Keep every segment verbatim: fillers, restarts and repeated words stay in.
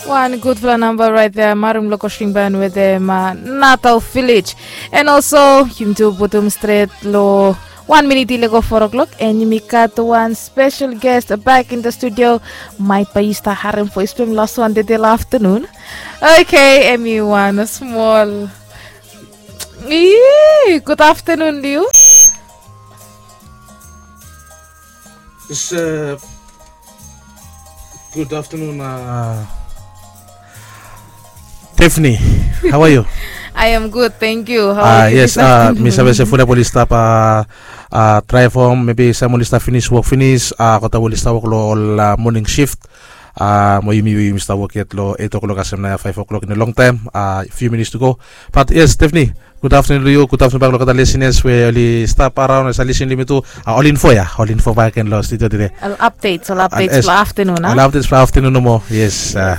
Wan gudfala namba raet ya, Marim Lokosting Ban wetem Natal Village. And also yumi tu putum stret lo wan minit i lego four o'clock, and yumi gat wan special guest back in the studio. Maet bae yu stap harem voes blong hem las wan tede lo aftanun. Okay, hemi wan smol. Good afternoon to you. It's, uh, good afternoon, uh, Tiffany. How are you? I am good, thank you. How are you? Yes, uh, mi save se fulap oli stap, uh, uh, try from maybe sam oli stap finish work finish, uh, kota oli stap work lo ol, uh, morning shift. Uh, mo yumi yumi stap work yet lo eight o'clock asem na five o'clock in a long time. Uh, few minutes to go. But yes, Tiffany, good afternoon to you. Good afternoon bak lo olgeta listeners we oli stap araon, oli stap listen lo yumi tu. Uh, ol info ya, ol info bak gen lo studio tede. Ol updates, ol updates lo afternoon, huh? Ol updates lo afternoon nomo. Yes. Uh,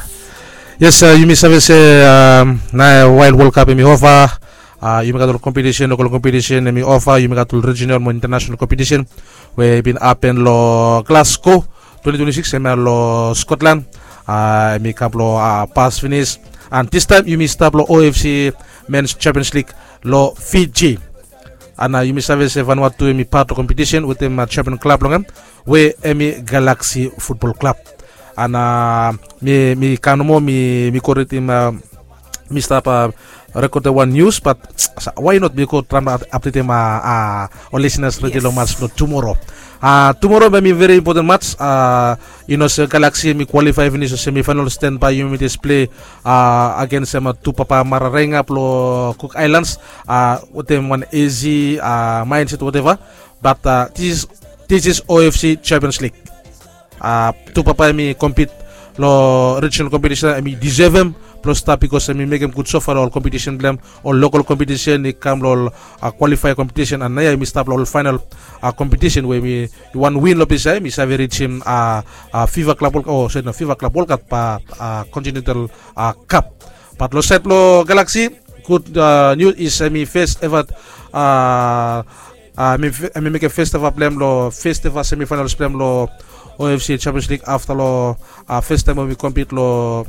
yes, uh, yumi save se, um, na while World Cup hemi over, uh, yumi gat ol competition, local competition hemi over, yumi gat ol regional mo international competition we bin happen lo Glasgow twenty twenty-six, hemia lo Scotland. Uh, hemi kam lo, uh, pas finish. And this time yumi stap lo O F C Men's Champions League lo Fiji. And, uh, yumi save se Vanuatu hemi pat lo competition wetem, uh, champion club blong hem we hemi Galaxy Football Club. And, uh, mi, mi kam nomo, mi, mi go ridim, uh, mi stap, uh, rekodem wan news, but why not mi go traem updatem, uh, uh, ol listeners redi lo match blo tumoro. Uh, tumoro bae hemi very important match. Uh, yu no se Galaxy hemi qualify finish lo semifinal, stand by, yumi jes play, uh, against, um, Tupapa Mararenga blo Cook Islands, uh, wetem wan easy, uh, mindset whatever. But, uh, this is, this is O F C Champions League. Uh, Tupapa hemi compete lo regional competition, hemi deserve hem blo stap, because hemi mekem gud so far lo ol competition blo hem, ol local competition, i kam lo ol, uh, qualify competition, and naoia hemi stap lo ol final, uh, competition we hemi wan win lo ples ia, hemi save rijim, uh, uh, FIFA Club World, oh, sorry, no, FIFA Club World Cup, uh, uh, Continental, uh, Cup. But lo saed blo Galaxy, good, uh, news is hemi first ever, uh, uh, hemi, hemi mekem first ever blo hem lo first ever semifinals blo hem lo O F C Champions League afta lo, uh, first time we hemi compete lo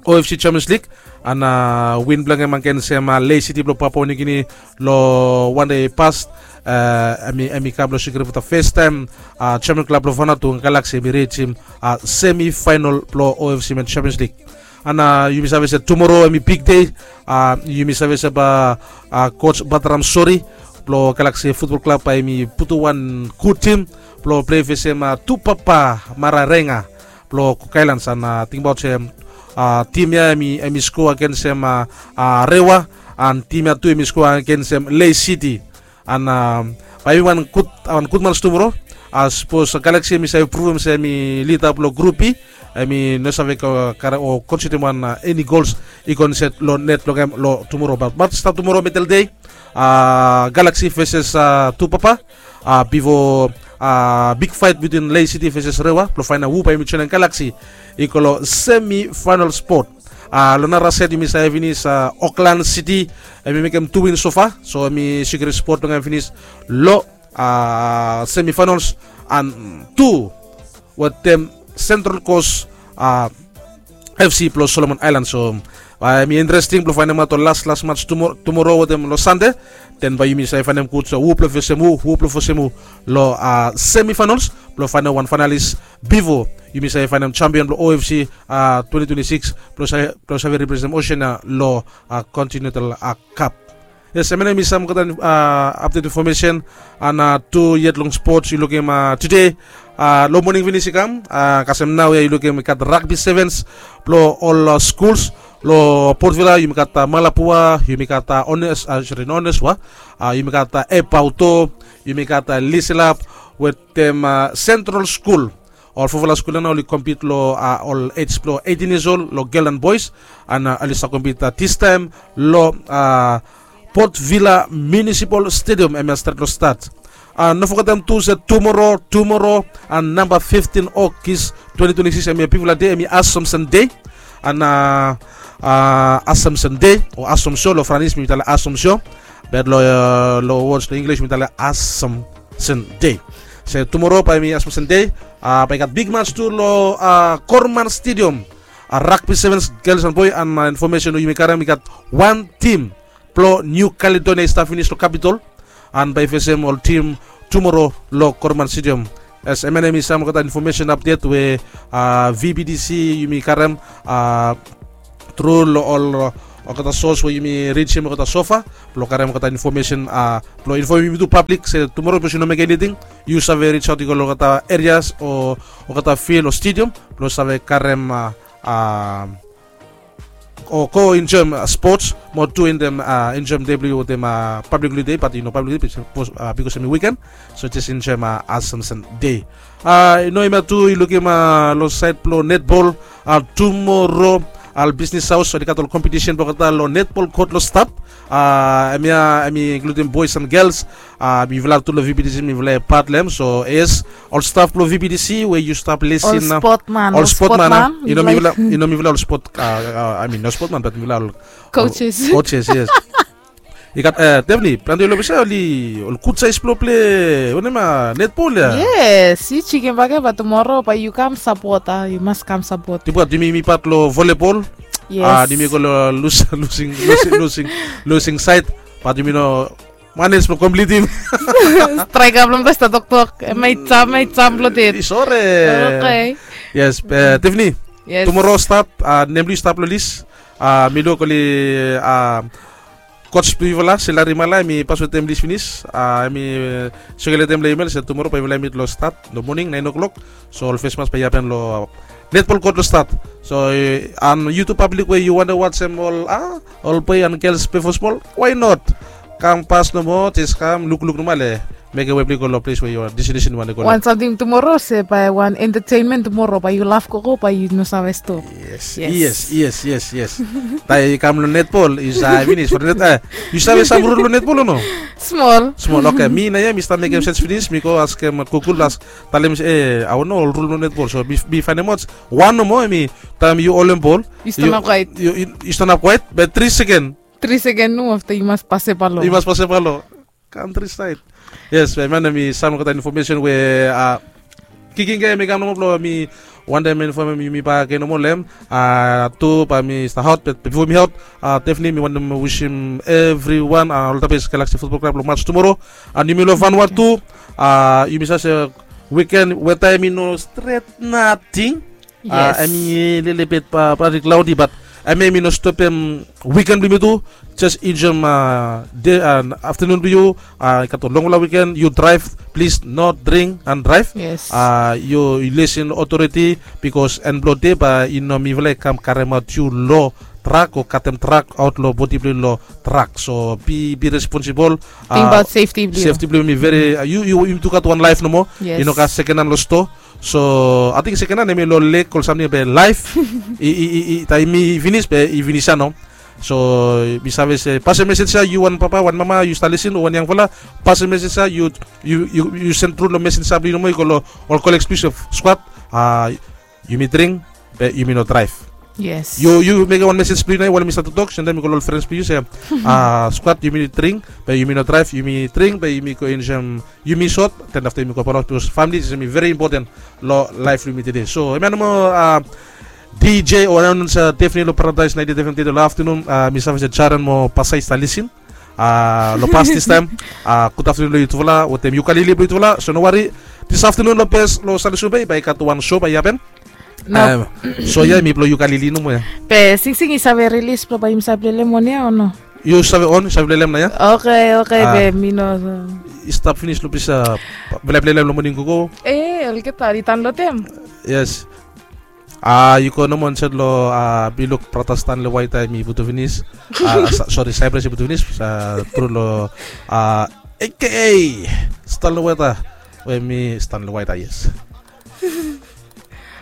O F C Champions League. And, uh, win blo hem against, um, uh, Lae City blo Papua New Guinea lo wan dei i pas. Uh, hemi, hemi kam blo sekiurem for the first time, uh, champion club blo Vanuatu, Galaxy, hemi rijim, uh, semifinal blo O F C Men's Champions League. And, uh, yumi save se tumoro hemi big day. Uh, yumi save se bae, uh, coach Batram Sori blo Galaxy Football Club bae hemi putum wan gud tim blo play fesem, uh, Tupapa Mararenga blo Cook Islands. And, uh, tingbaot se, uh, tim ia hemi, hemi score against, um, uh, uh, Rewa, and tim ia tu hemi score against, um, Lae City. And, um, bae hemi wan gud, wan gud match tumoro. Uh, sapos Galaxy hemi save pruvum se hemi leader blo Group B, hemi no save, uh, karem o konsidim wan, uh, eni gols i go insaed lo net blo hem lo tumoro. But match stap tumoro, middle day, uh, Galaxy versus, uh, Tupapa. Uh, bifo, uh, big fight between Lae City versus Rewa blo faenem hu bae hemi joenem Galaxy i go lo semifinal spot. Uh, lo nara saed yumi save finish, uh, Auckland City, hemi mekem tu win so far, so hemi sekiurem spot blo hem finis lo, uh, semifinals. And tu wetem Central Coast, uh, F C blo Solomon Islands. So, uh, hemi interesting blo faenemaot ol las las match tumoro, tumoro wetem lo Sande. Den bae yumi save faenem gud so hu blo fesem hu, hu blo fesem hu lo, uh, semifinals blo faenem wan finalist bifo yumi save faenem champion blo O F C, uh, twenty twenty-six blo save, blo save representem Oceania lo, uh, Continental, uh, Cup. Yes, hemia nao hemi sam olgeta, uh, update information. And, uh, tu yet long sports yu lukim, uh, tede, uh, lo moning finis i kam, uh, kasem naoia yu lukim i gat rugby sevens blo ol, uh, schools lo Port Vila. Yumi gat, uh, Malapua, yumi gat, uh, Honest, uh, sorry, no Honest wa. Uh, yumi gat, uh, Epauto, yumi gat, uh, Liselap wetem, uh, Central School. Ol fofala skul ia nao oli compete lo, uh, ol age blo eighteen years old lo girl and boys. And, uh, oli stap compete, uh, this time lo, uh, Port Vila Municipal Stadium, hemia stret lo start. Uh, no fogetem tu se tumoro, tumoro, uh, namba fifteen August twenty twenty-six, hemia bigfala dei, hemi Assumption Day. And, uh, uh, Assumption Day o Assumption lo Franis, mi talem Assumption. Be lo, uh, lo words lo English mi talem Assumption Day. Se tumoro bae hemi Assumption Day, uh, bae i gat big match tu lo, uh, Korman Stadium. rugby sevens, gels an boe, an infomesen we yumi karem, i gat wan tim blong New Caledonia i stap finis long Capitol, an bae i fesem ol tim tumoro long Korman Stadium. Yes, hemia nao hemi sam olgeta infomesen apdet we V B D C yumi karem tru long ol olgeta sos we yumi rijim olgeta sofa blong karem olgeta infomesen blong infomem yumi tu pablik se tumoro sapos yu no mekem eniting, yu save rijaot i go long olgeta erias o olgeta fil o stadium blong save karem o go enjoem spots mo tu wetem enjoem dei blong yu wetem pablik holide, bat i no pablik holide bikos hemi wiken. So jes enjoem Assumption Day. I no hemia tu i lukim long saed blong netbol, tumoro ol bisnis haos oli gat ol kompetisen blong olgeta long netbol kot long stap. Hemia hemi inkludim boes an gels. Mifala tu long V B D C mifala i pat long hem. So yes, ol staf blong V B D C we yu stap lisin, ol spotman, ol spotman, i no mifala, i no mifala ol spot, I mean no spotman bat mifala ol coaches, coaches, yes. I gat Devni, plante ol ofisa oli ol gud saes blong ple wanem, netbol ya. Yes, yu jikim bak ya, bat tumoro bae yu kam sapot, yu mas kam sapot. Dibat yumi, mi pat long volebol. Yes, yumi go long lus, lusing, lusing, lusing, lusing saed, bat yumi no manej blong komplitim. Straeka blong ples toktok, hemia i jam, hemia i jam blong det. Sore. Oke. Yes, Devni. Yes. Tumoro stap, nem blong yu stap long lis. Mi luk oli coach blong yufala se Larry Mala, hemi pas wetem lis finis. Hemi sikelemtem long email se tumoro bae yufala i mit long stap long moning naen o'clock. So ol fes match bae i hapen long netbol kot long stap. So an yu tu pablik we yu wantem wajem ol, ol boe an gels bifo smol, why not? Kam pas nomo, jes kam lukluk nomo, ale mekem we blong yu go long ples we yu destinesen yu wantem go long. Wan samting tumoro se bae wan entertainment tumoro, bae yu laf gogo bae yu no save stop. Yes, yes, yes, yes. Taem yu kam long netbol yu save finis, yu save sam rul blong netbol o no? Smol. Smol, oke. Mi naoia mi stap mekem sej finis, mi go askem Google, talem se, e, hao nao ol rul blong netbol. So mi faenem aot wan nomo, hemi taem yu holem bol, yu stanap kwaet, yu stanap kwaet be tri seken. Tri seken nomo, afta yu mas pasem balo. Yu mas pasem balo. Kantri saed. Yes, hemia nao mi sam olgeta infomesen we kiking ya hemi kam nomo blong mi wantem infomem yumi bakegen nomo long hem. Tu bae mi stap aot, be bifo mi aot, Devni, mi wantem wisim evriwan, olgeta bes Galaxy Futbol Klab long mats tumoro. An yumi long Vanuatu, yumi save se wiken weta hemi no stret nating. Hemi lelebet badi klaodi, bat hemia hemi no stopem wiken blong yumi tu. Jes enjoem dei an aftanun blong yu. I gat ol longfala wiken, yu draev, plis no dring an draev. Yes. Yu lisin otoriti, bikos en blong dei bae i no mifala i kam karemaot yu long trak o katem trak aot long bodi blong yu long trak. So bi, bi responsibol. Tingbaot sefti blong yu. Sefti blong yu hemi veri, yu, yu, yu tu gat wan laef nomo. Yes. I no gat sekenan long stoa. So ating sekenan hemi long lek ol samting be laef. I, i, i, i taem i finis be i finis ya nao. So mi save se pasem mesej ya, yu wan papa, wan mama, yu stap lisin, o wan yangfala, pasem mesej ya, yu, yu, yu, yu sen tru long mesej ya blong yu nomo, i go long ol koleg blong yu se, skwat, yumi dring be yumi no draev. Yes. Yu, yu mekem wan mesej blong yu nao, wael mi stap toktok, sendem i go long ol frens blong yu se, skwat, yumi dring be yumi no draev, yumi dring be yumi go enjoem yumi sot, den afta yumi go palaos, bikos famili hemi veri impoten long laef blong yumi tede. So hemia nomo, DJ o anaonsa Devni long Paradise naenti eit F M tede long aftanun. Mi save se Jaren mo Pasai i stap lisin long pas distaem. Gud aftanun long yutufala wetem Yukalili blong yutufala. So no wari, dis aftanun long bes long Salisbury bae i gat wan so bae i hapen. So ya hemi blong Yukalili nomo ya. Be Singsing i save rilis blong bae yumi save plelem on ya o no? Yu save on, yu save plelem nao ya. Oke, oke, be mi no. I stap finis long ples ya, bae plelem long moning gogo. E, olgeta i tan long tem. Yes. Yu go nomo insaed long, mi luk brata Stanley White hemi putum finis. Sori, Cyprus i putum finis. Tru long A K A Stanley White, we mi Stanley White, yes.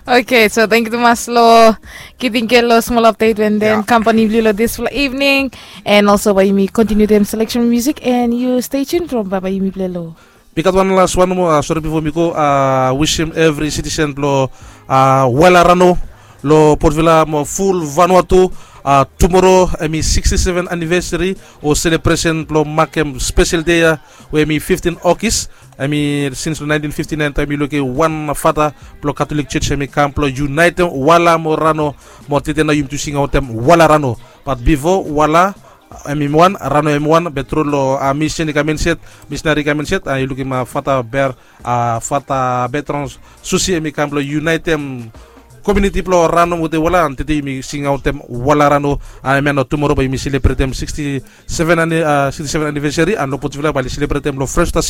Oke, so tangkiu tumas long givim gen long smol apdet we den kampani blong yu long disfala evening. And also bae yumi kontiniu wetem seleksen blong musik, and yu stay tuned from bae bae yumi plei long. Mi gat wan las wan nomo, sori, bifo mi go, wisim evri sitisen blong Waelarano, long Port Vila mo ful Vanuatu, A tumoro em i sixty-seven anivesari o selebresen blong makem spesel dei ya, we em i fiftin Ogis. Em i sins long naentin fifti naen taem i lukim wan fata blong Katolik Jos em i kam blong yunaetem Wala mo Rano. Mo tede nao yumi tu singaotem Wala Rano. Bat bifo Wala em i wan, Rano em i wan, be tru long a misin i kam inset, misinari i kam inset, a yu lukim a fata Ber, a fata Betron Susi em i kam blong yunaetem komiuniti blong Rano wetem Wala, an tede yumi singaotem Wala Rano. A em ya nao tumoro bae yumi selebretem sixty-seven ani- a sixty-seven anivesari, an long Port Vila bae oli selebretem long Fresno State